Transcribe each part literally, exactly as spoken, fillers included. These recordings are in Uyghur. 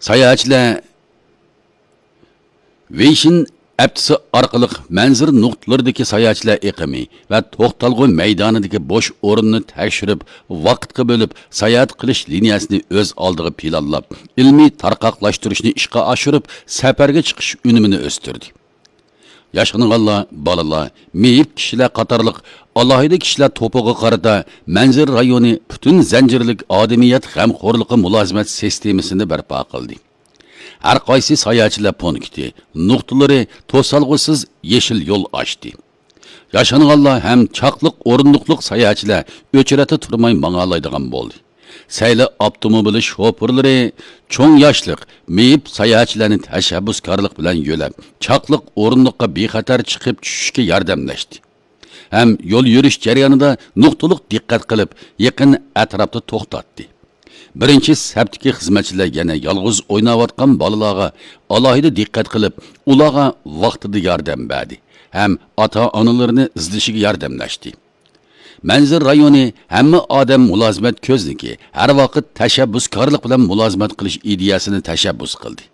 ساياھەتچىلەر ۋېيشىن ئەپچىسى ئارقىلىق مەنزىرە نۇقتىلىرىدىكى ساياھەتچىلەر ئېقىمى ۋە توختالغۇ مەيدانىدىكى بوش ئورۇننى تەكشۈرۈپ، ۋاقىتقا بۆلۈپ، ساياھەت قىلىش لىنىيەسىنى ئۆز ئالدىغا پىلانلاپ، ئىلمىي تارقاقلاشتۇرۇشنى ئىشقا ئاشۇرۇپ، سەپەرگە چىقىش ئۈنۈمىنى ئۆستۈردى. ياشانغانلار، بالىلار، مېيىپ كىشىلەر قاتارلىق ئالاھىدە كىشىلەر توپىغا قارىتا مەنزىرە رايونى پۈتۈن زەنجىرلىك ئادىمىيەت غەمخورلۇقى مۇلازىمەت سىستېمىسىنى بەرپا قىلدى. ھەر قايسى ساياھەتچىلەر پونكىتى، نۇقتىلىرى توسالغۇسىز يېشىل يول ئاچتى. ياشانغانلار ھەم چاقلىق ئورۇندۇقلۇق ساياھەتچىلەر ئۆچرەتتە تۇرماي ماڭالايدىغان بولدى. سەيلە ئاپتوموبىلى شوپۇرلىرى چوڭ ياشلىق، مېيىپ ساياھەتچىلەرنى تەشەببۇسكارلىق بىلەن يۆلەپ، چاقلىق ئورۇندۇققا بىخەتەر چىقىپ چۈشۈشكە ياردەملەشتى ھەم يول يۈرۈش جەريانىدا نۇقتىلىق دىققەت قىلىپ، يېقىن ئەتراپتا توختاتتى. بىرىنچى سەپتىكى خىزمەتچىلەر يەنە يالغۇز ئويناۋاتقان بالىلارغا ئالاھىدە دىققەت قىلىپ، ئۇلارغا ۋاقتىدا ياردەم بەردى ھەم ئاتا-ئانىلىرىنى ئىزدىشىگە ياردەملەشتى. مەنزىرە رايونى ھەممە ئادەم مۇلازىمەت كۆزنىكى، ھەر ۋاقىت تەشەببۇسكارلىق بىلەن مۇلازىمەت قىلىش ئىدىيەسىنى تەشەببۇس قىلدى.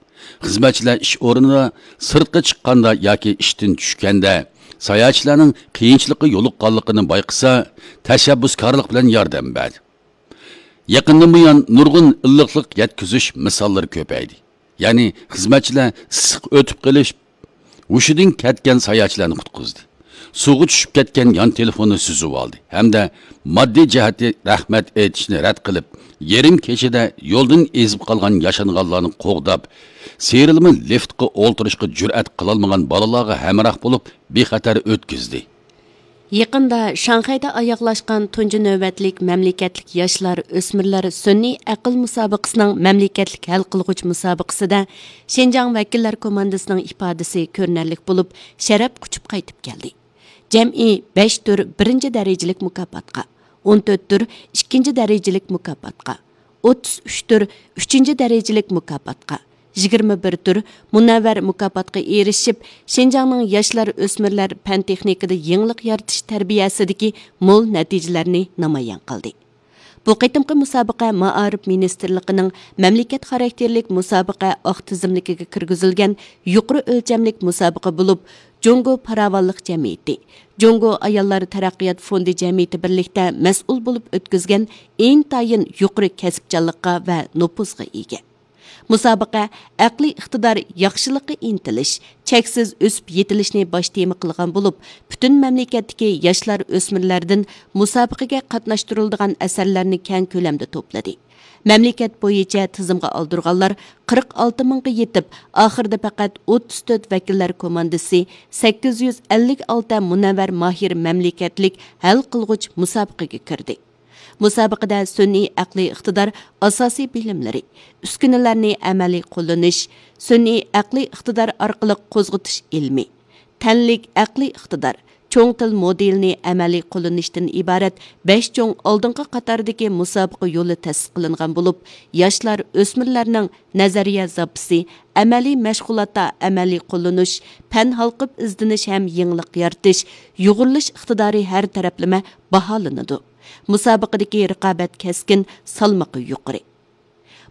خىزمەتچىلەر ئىش ئورنىدا، سىرتقا چىققاندا ياكى ئىشتىن چۈشكەندە ساياھەتچىلەرنىڭ قىيىنچىلىققا يولۇققانلىقىنى بايقىسا، تەشەببۇسكارلىق بىلەن ياردەم بەردى. يېقىندىن بۇيان نۇرغۇن ئىللىقلىق يەتكۈزۈش مىساللىرى كۆپەيدى. يەنى خىزمەتچىلەر ئىسسىق ئۆتۈپ قېلىش ھوشىدىن كەتكەن ساياھەتچىلەرنى قۇتقۇزدى. سۇغا چۈشۈپ كەتكەن يان تېلېفوننى سۈزۈۋالدى ھەمدە ماددىي جەھەتتە رەھمەت ئېيتىشنى رەت قىلىپ، يېرىم كېچىدە يولدىن ئېزىپ قالغان ياشانغانلارنى قوغداپ، سىيرىلما لىفتقا ئولتۇرۇشقا جۈرئەت قىلالمىغان بالىلارغا ھەمراھ بولۇپ، بىخەتەر ئۆتكۈزدى. يېقىندا شاڭخەيدە ئاياغلاشقان تۇنجى نۆۋەتلىك مەملىكەتلىك ياشلار، ئۆسمۈرلەر سۈنئىي ئەقىل مۇسابىقىسىنىڭ مەملىكەتلىك ھەل قىلغۇچ مۇسابىقىسىدە شىنجاڭ ۋەكىللەر كوماندىسىنىڭ ئىپادىسى كۆرۈنەرلىك بولۇپ، شەرەپ قۇچۇپ قايتىپ كەلدى. جەمئىي بەش تۈر بىرىنچى دەرىجىلىك مۇكاپاتقا، ئون تۆت تۈر ئىككىنچى دەرىجىلىك مۇكاپاتقا، ئوتتۇز ئۈچ تۈر ئۈچىنچى دەرىجىلىك مۇكاپاتقا، يىگىرمە بىر تۈر مۇنەۋۋەر مۇكاپاتقا ئېرىشىپ، شىنجاڭنىڭ ياشلار، ئۆسمۈرلەر پەن تېخنىكىدا يېڭىلىق يارىتىش تەربىيەسىدىكى مول نەتىجىلەرنى نامايان قىلدى. بۇ قېتىمقى مۇسابىقە مائارىپ مىنىستىرلىقىنىڭ مەملىكەت خاراكتېرلىك مۇسابىقە ئاق تىزىملىكىگە كىرگۈزۈلگەن يۇقىرى ئۆلچەملىك مۇسابىقە بولۇپ، جۇڭگو پاراۋانلىق جەمئىيىتى، جۇڭگو ئاياللار تەرەققىيات فوندى جەمئىيىتى بىرلىكتە مەسئۇل بولۇپ ئۆتكۈزگەن ئىنتايىن يۇقىرى كەسىپچانلىققا ۋە نوپۇزغا ئىگە. مۇسابىقە ئەقلىي ئىقتىدار ياخشىلىققا ئىنتىلىش، چەكسىز ئۆسۈپ يېتىلىشنى باش تېما قىلغان بولۇپ، پۈتۈن مەملىكەتتىكى ياشلار، ئۆسمۈرلەردىن مۇسابىقىگە قاتناشتۇرۇلىدىغان ئەسەرلەرنى كەڭ كۆلەمدە توپلىدى. مەملىكەت بويىچە تىزىمغا ئالدۇرغانلار قىرىق ئالتە مىڭغا يېتىپ، ئاخىرىدا پەقەت ئوتتۇز تۆت ۋەكىللەر كوماندىسى سەككىز يۈز ئەللىك ئالتە مۇنەۋۋەر ماھىر مەملىكەتلىك ھەل قىلغۇچ مۇسابىقىگە كىردى. مۇسابىقىدە سۈنئىي ئەقلىي ئىقتىدار ئاساسىي بىلىملىرى، ئۈسكۈنىلەرنى ئەمەلىي قوللىنىش، سۈنئىي ئەقلىي ئىقتىدار ئارقىلىق قوزغىتىش ئىلمى، تەنلىك ئەقلىي ئىقتىدار، چوڭ تىل مودېلىنى ئەمەلىي قوللىنىشتىن ئىبارەت بەش چوڭ ئالدىنقى قاتاردىكى مۇسابىقە يولى تەسىس قىلىنغان بولۇپ، ياشلار، ئۆسمۈرلەرنىڭ نەزەرىيە زاپىسى، ئەمەلىي مەشغۇلاتتا ئەمەلىي قوللىنىش، پەن ھالقىپ ئىزدىنىش ھەم يېڭىلىق يارىتىش، يۇغۇرۇلۇش ئىقتىدارى ھەر تەرەپلىمە باھالىنىدۇ. مۇسابىقىدىكى رىقابەت كەسكىن، سالمىقى يۇقىرى.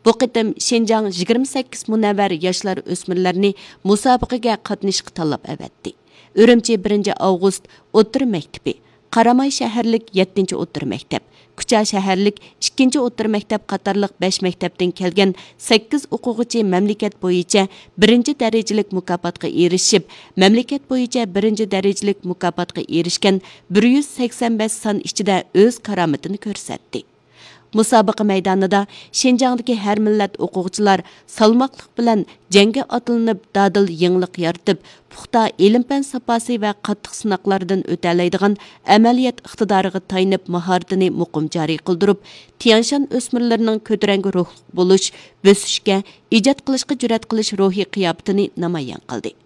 بۇ قېتىم شىنجاڭ يىگىرمە سەككىز مۇنەۋۋەر ياشلار، ئۆسمۈرلەرنى مۇسابىقىگە قاتنىشىشقا تاللاپ ئەۋەتتى. ئۈرۈمچى بىرىنچى ئاۋغۇست ئوتتۇرا مەكتىپى، قاراماي شەھەرلىك يەتتىنچى ئوتتۇرا مەكتەپ، كۇچا شەھەرلىك ئىككىنچى ئوتتۇرا مەكتەپ قاتارلىق بەش مەكتەپتىن كەلگەن سەككىز ئوقۇغۇچى مەملىكەت بويىچە بىرىنچى دەرىجىلىك مۇكاپاتقا ئېرىشىپ، مەملىكەت بويىچە بىرىنچى دەرىجىلىك مۇكاپاتقا ئېرىشكەن بىر يۈز سەكسەن بەش سان ئىچىدە ئۆز كارامىتىنى كۆرسەتتى. مۇسابىقە مەيدانىدا شىنجاڭدىكى ھەر مىللەت ئوقۇغۇچىلار سالماقلىق بىلەن جەڭگە ئاتلىنىپ، دادىل يېڭىلىق يارىتىپ، پۇختا ئىلىم-پەن ساپاسى ۋە قاتتىق سىناقلاردىن ئۆتەلەيدىغان ئەمەلىيەت ئىقتىدارىغا تايىنىپ، ماھارىتىنى مۇقىم جارى قىلدۇرۇپ، تيەنشان ئۆسمۈرلىرىنىڭ كۆتۈرەڭگۈ روھلۇق بولۇش، بۆسۈشكە، ئىجاد قىلىشقا جۈرئەت قىلىش روھىي قىياپىتىنى نامايان قىلدى.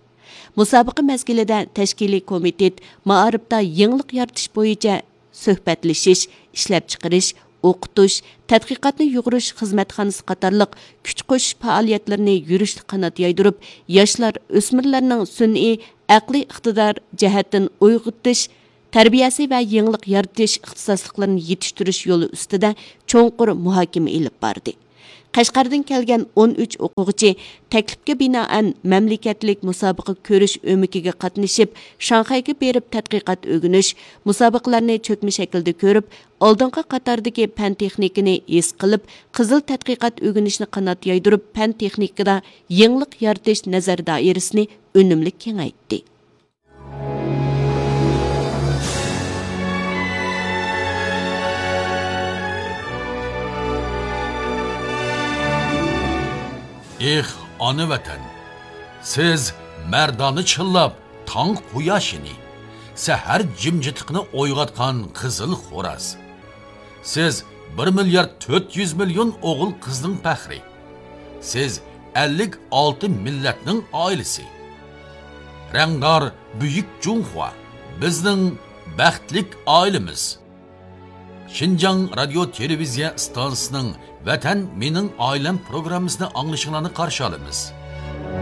مۇسابىقە مەزگىلىدە تەشكىلىي كومىتېت مائارىپتا يېڭىلىق يارىتىش بويىچە سۆھبەتلىشىش، ئىشلەپچىقىرىش، ئوقۇتۇش، تەتقىقاتنى يۇغۇرۇش خىزمەتخانىسى قاتارلىق كۈچ قوشۇش پائالىيەتلىرىنى يۈرۈشلۈك قانات يايدۇرۇپ، ياشلار، ئۆسمۈرلەرنىڭ سۈنئىي ئەقلىي ئىقتىدار جەھەتتىن ئويغىتىش، تەربىيەسى ۋە يېڭىلىق يارىتىش ئىختىساسلىقلىرىنى يېتىشتۈرۈش يولى ئۈستىدە چوڭقۇر مۇھاكىمە ئېلىپ باردى. قەشقەردىن كەلگەن ئون ئۈچ ئوقۇغۇچى تەكلىپكە بىنائەن مەملىكەتلىك مۇسابىقە كۆرۈش ئۆمىكىگە قاتنىشىپ، شاڭخەيگە بېرىپ تەتقىقات ئۆگىنىش، مۇسابىقىلەرنى چۆكمە شەكىلدە كۆرۈپ، ئالدىنقى قاتاردىكى پەن تېخنىكىنى ھېس قىلىپ، قىزىل تەتقىقات ئۆگىنىشنى قانات يايدۇرۇپ، پەن تېخنىكىدا يېڭىلىق يارىتىش نەزەر دائىرىسىنى ئۈنۈملۈك كېڭەيتتى. ئېھ، ئانا ۋەتەن! سىز مەردانە چىللاپ، تاڭ قۇياشىنى، سەھەر جىمجىتلىقىنى ئويغاتقان قىزىل خوراز. سىز بىر مىليارد تۆت يۈز مىليون ئوغۇل-قىزنىڭ پەخرى. سىز ئەللىك ئالتە مىللەتنىڭ ئائىلىسى. رەڭدار بۈيۈك جۇڭخۇا، بىزنىڭ بەختلىك ئائىلىمىز. شىنجاڭ رادىيو تېلېۋىزىيە ئىستانسىسىنىڭ ۋەتەن مېنىڭ ئائىلەم پروگراممىسىنى ئاڭلىشىڭلارنى قارشى ئالىمىز.